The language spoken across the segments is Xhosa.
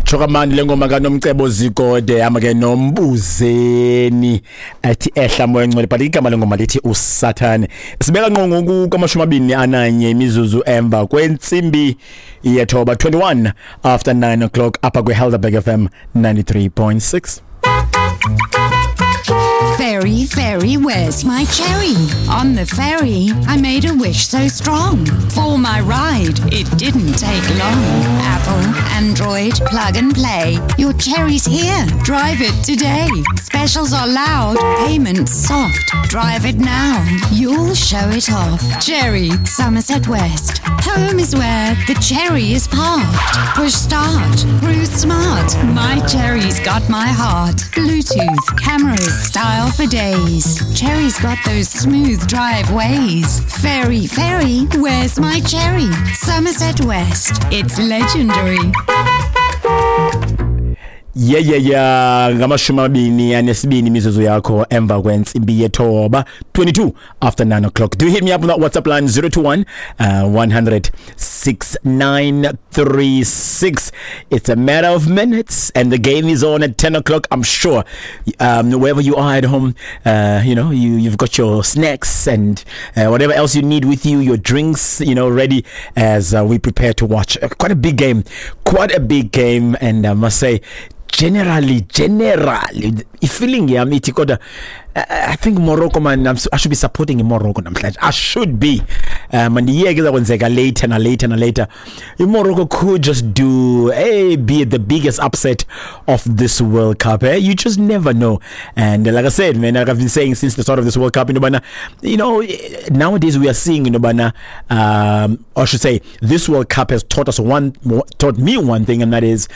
Tsho kamandi le ngoma kaNomcebo Zikode hamba ke nombuzeni athi ehla moya ngcwele, but igama lengoma lithi uSathane. Sibeka ngqo ngoku kwama-21 imizuzu emva kwentsimbi yethoba, 21 after 9 o'clock, apha kwiHelderberg FM 93.6. Fairy, fairy, where's my cherry? On the ferry, I made a wish so strong. For my ride, it didn't take long. Apple, Android, plug and play. Your cherry's here. Drive it today. Specials are loud, payments soft. Drive it now. You'll show it off. Cherry, Somerset West. Home is where the cherry is parked. Push start. Cruise smart. My cherry's got my heart. Bluetooth, cameras, style for days. Cherry's got those smooth drive ways. Ferry, ferry, where's my cherry? Somerset West. It's legendary. Yeah, ngama-22 imizuzu yakho emva kwentsimbi yethoba, 22 after 9 o'clock. Do hit me up on that WhatsApp line, 021 100 6936. It's a matter of minutes and the game is on at 10 o'clock. I'm sure wherever you are at home, you've got your snacks and whatever else you need with you, your drinks, ready as we prepare to watch quite a big game, quite a big game. And I must say, generally ifeeling yami ithi kodwa I think Morocco, man, I should be supporting Morocco namhlanje. I should be. Mandiyeke izakwenzeka later na later na later. Morocco could just do hey be the biggest upset of this World Cup, eh? You just never know. And like I said, man, like I've been saying since the start of this World Cup, bana, nowadays we are seeing, bana, or I should say this World Cup has taught me one thing, and that is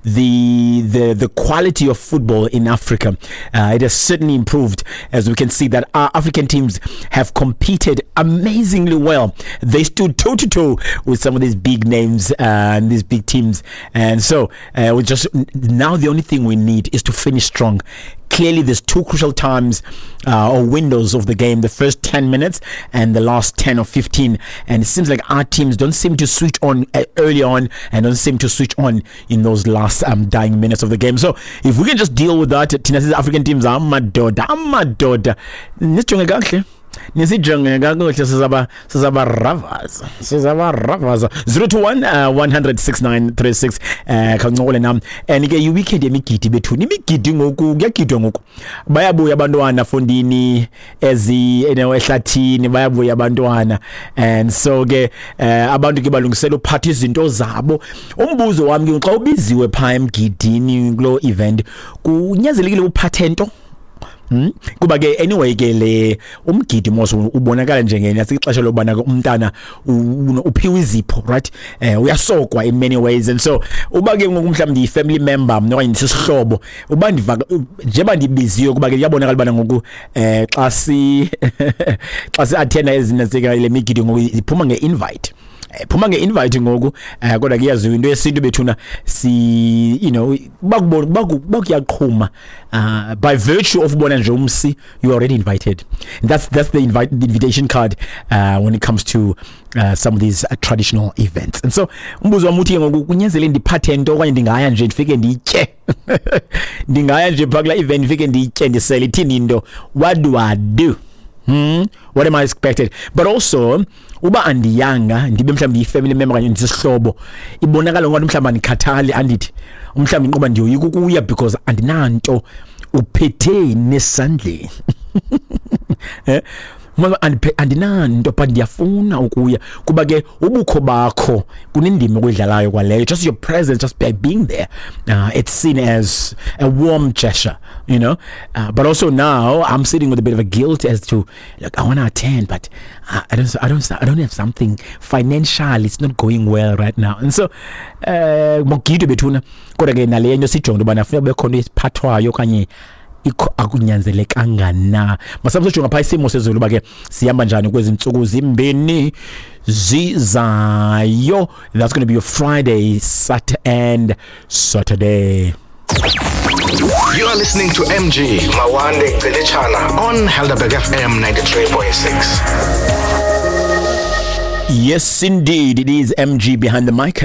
the quality of football in Africa. It has certainly improved, as we can see that our African teams have competed amazingly well. They stood toe to toe with some of these big names and these big teams, and so we just now the only thing we need is to finish strong. Clearly there's two crucial times or windows of the game, the first 10 minutes and the last 10 or 15, and it seems like our teams don't seem to switch on early on and don't seem to switch on in those last dying minutes of the game. So if we can just deal with that, thina African teams, amadoda, amadoda, nisijonge kakuhle, nisijonge kakuhle, sizaba ravers, sizaba ravers. 021 100 6936, khawuncokole nam. And ke i-weekend yemigidi bethuni, imigidi ngoku, kuyagidwa ngoku, bayabuya abantwana fondini ezi ehlathini, bayabuya abantwana. And so ke abantu ke balungisela uphatha izinto zabo. Umbuzo wami ke, xa ubiziwe phaa emgidini kuloo event, kunyanzelekile uphathe nto? Kuba ke anyway ke le umgidi mos ubonakala njengenya ixesha lobana ke umntana uphiwe izipho, right? Uyasokwa in many ways. And so uba ke ngoku mhlawumbi ndiyi-family member mna okanye ndisisihlobo, uba ndiva njengoba ndibiziwe, kuba ke kuyabonakala ubana ngoku xa si-attenda ezinasika le migidi ngoku iphuma nge-invite, phuma nge-invite ngoku, kodwa ke iyaziwa into yesintu bethuna, si bakubona bakuyaqhuma, by virtue of ubona nje umsi, you are already invited. And that's the invitation card when it comes to some of these traditional events. And so umbuzo wami uthi ke ngoku, kunyanzelekile ndiphathe nto okanye ndingaya nje ndifike nditye? Ndingaya nje phaa kulaa event ndifike nditye, ndisele, ithini into? What do I do? What am I expected? But also uba andiyanga, ndibe mhlawumbi ndiyi-family member okanye ndisisihlobo, ibonakala ngathi mhlawumbi andikhathali, andithi umhlawumbi inqoba ndiyoyika ukuya because andinanto, uphetheni esandleni? Eh, andinanto but ndiyafuna ukuya, kuba ke ubukho bakho kunendima okuyidlalayo kwaleyo. Just your presence, just by being there, it's seen as a warm gesture. But also now I'm sitting with a bit of a guilt as to, like, I want to attend, but I don't have something financially. It's not going well right now. And so makugidwe bethuna, kodwa ke nale nto sijonge into yobana funeka kube khona esiphathwayo okanye ikho akunyanzelekanga na. Masambe sojonga phaa isimo sezulu uba ke sihamba njani kwezi ntsuku zimbini zizayo. That's going to be your Friday, Sat and Saturday. You are listening to MG Mawande Gcilitshana on Helderberg FM 93.6. Yes, indeed. It is MG behind the mic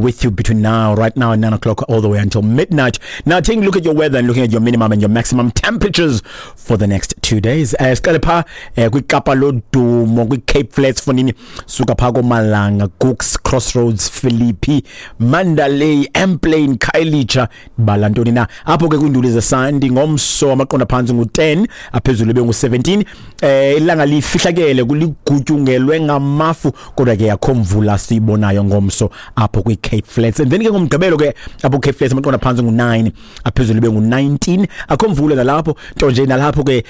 with you between now, right now, 9 o'clock, all the way until midnight. Now, taking a look at your weather and looking at your minimum and your maximum temperatures for the next 2 days. Siqale pha kwiKapa lodumo, kwi-Cape Flats fonini, suka pha koMalanga, Cooks Crossroads, Philippi, Mandalay, Emplane, Khayelitsha, bala ntoni na. Apho ke kwiinduli zesandi ngomso amaqondo phantsi ngu-10, aphezulu ibe ngu-17. Ilanga lifihlakele, kuligutyungelwe ngamafu, kodwa ke akho mvula siyibonayo ngomso apho kwi-Cape Flats. And then ke ngomgqibelo ke apho Cape Flats amaqondo phantsi ngu-9, aphezulu ibe ngu-19. Akho mvula nalapho, nto nje nalapho ke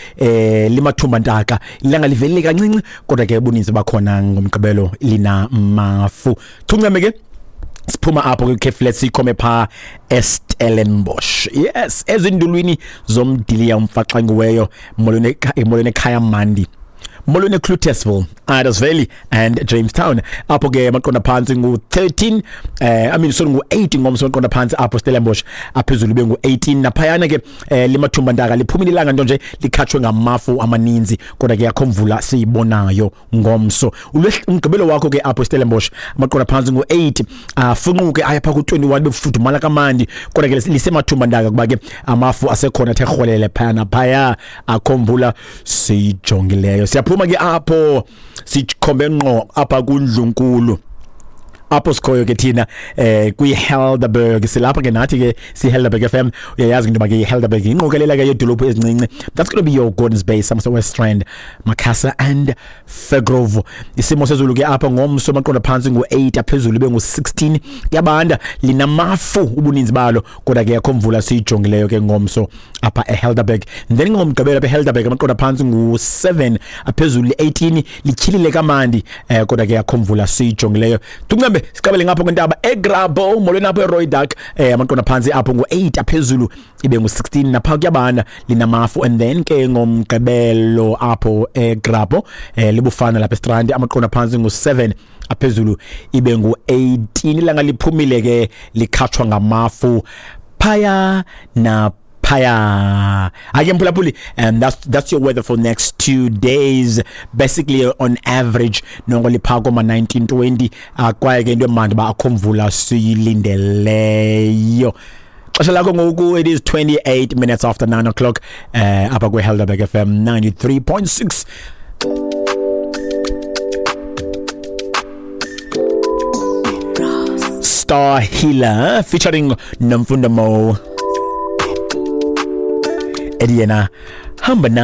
limathumba ntaka, ilanga livelile kancinci, kodwa ke ubuninzi bakhona ngomgqibelo linamafu. Chunceme ke siphuma apho kwi-Cape Flats sikhome pha eStellenbosch, yes, ezindulwini zomdiliya umfaxangiweyo. Molweni, molweni ekhaya mandi, molweni eCloetesville, Idas Valley and Jamestown. Apho ke amaqondo phantsi ngu-13, I mean, sorry, ngu-8 ngomso amaqondo phantsi apho Stellenbosch, aphezulu bengu-18. Naphayana ke limathumba ntaka, liphumile ilanga, nto nje likhatshwe ngamafu amaninzi, kodwa ke akho mvula siyibonayo ngomso. Umgqibelo wakho ke apho Stellenbosch amaqondo phantsi ngu-8, afunquke aya pha ku-21, bekufudumala kamandi, kodwa ke lisemathumba ntaka kuba ke amafu asekhona athe rholele phaya naphaya, akho mvula siyijongileyo. Siyaphuma ke apho sikhombe ngqo apha kundlunkulu apho sikhoyo ke thina kwi-Helderberg. Silapha ke nathi ke si-Helderberg FM. Uyayazi into yoba ke i-Helderberg yingqokelela ke yeedolophu ezincinci. That's going to be your Gordons Bay, Somerset West Rand, Macassar and Firgrove. Isimo sezulu ke apha ngomso amaqondo phantsi ngu-8, aphezulu ibe ngu-16. Kuyabanda, linamafu ubuninzi balo, kodwa ke akho mvula siyijongileyo ke ngomso apha eHelderberg. Then ngomgqibelo apha eHelderberg amaqondo phantsi ngu-7, aphezulu 18. Lityhilile kamandi, kodwa ke akho mvula siyijongileyo. Tuncembe siqabele ngapho kwentaba eGrabouw. Molweni apho eRooidak. Amaqondo phantsi apho ngu-8, aphezulu ibe ngu-16. Napha kuyabanda, linamafu. And then ke ngomgqibelo apho eGrabouw, libufana lapha eStrand, amaqondo phantsi ngu-7, aphezulu ibe ngu-18. Ilanga liphumile ke, likhatshwa ngamafu phaya na phaya. Ake mphulaphuli, and that's your weather for next 2 days. Basically, on average nongo lipha koma 1920, kwaye ke into emandi ba akho mvula siyilindeleyo. Xesha lakho ngoku, it is 28 minutes after 9 o'clock apha kwi-Helderberg FM 93.6. Star Healer featuring Nomfundo Mo, ethi yena hamba na.